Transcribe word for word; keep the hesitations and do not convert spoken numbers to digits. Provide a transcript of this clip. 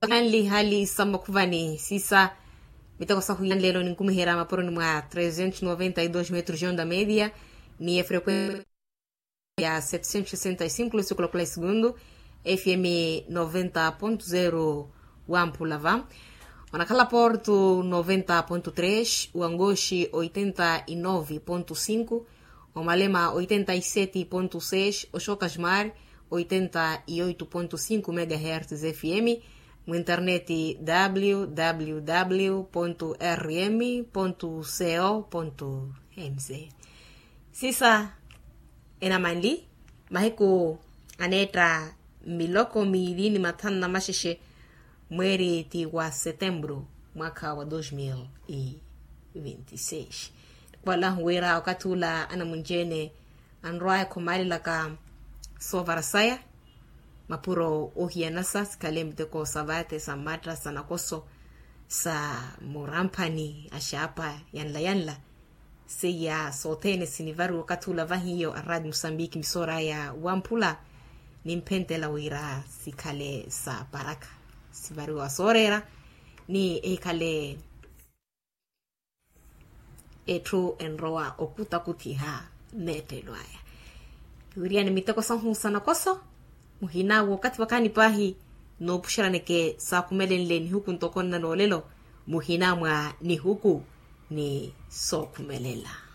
Hali hali sa makhuvani sisa miteko sa huyanlelo ninkumiherya maporoni mwa trezentos noventa e dos metros de onda media ni efrequensia ya setecentos sesenta e cinco lusikula kula esegundu. Fm noventa ponto zero wa mpulava onakhala porto noventa ponto tres wangoxi oitenta e nove ponto cinco, omalema oitenta e sete ponto seis oxokasmar oitenta e oito ponto cinco megahertz fm. Mwinterneti www rm co mz. Sisa enamanli mahiku aneetta miloko miili ni mathanu na maxexe mweeri ti wa setembru mwakha wa dos mil e vinte e seis. Khupalahu wira okathi ula anamunci-ene anrwaya khumaalelaka soovara saya mapuro ohiyanasa sikhale miteko sa vaate sa mmatta sa nakoso sa muramphani axaapa yanla yanla. Seiya sothene sinivariwa okathi ula vahiyo a radio musambiki misooraya wamphula nimphentela wira sikhale sa paraka sivariwa sooreera ni ehikhale etthu enrowa okutakuthiha. Neettelo aya kiwiriyani miteko sahu sa nakoso muhina wookathi wakaani paahi noopuxeraneke saakhumelenle nihuku ntoko nnanoolelo muhina mwa nihuku ni sookhumelela.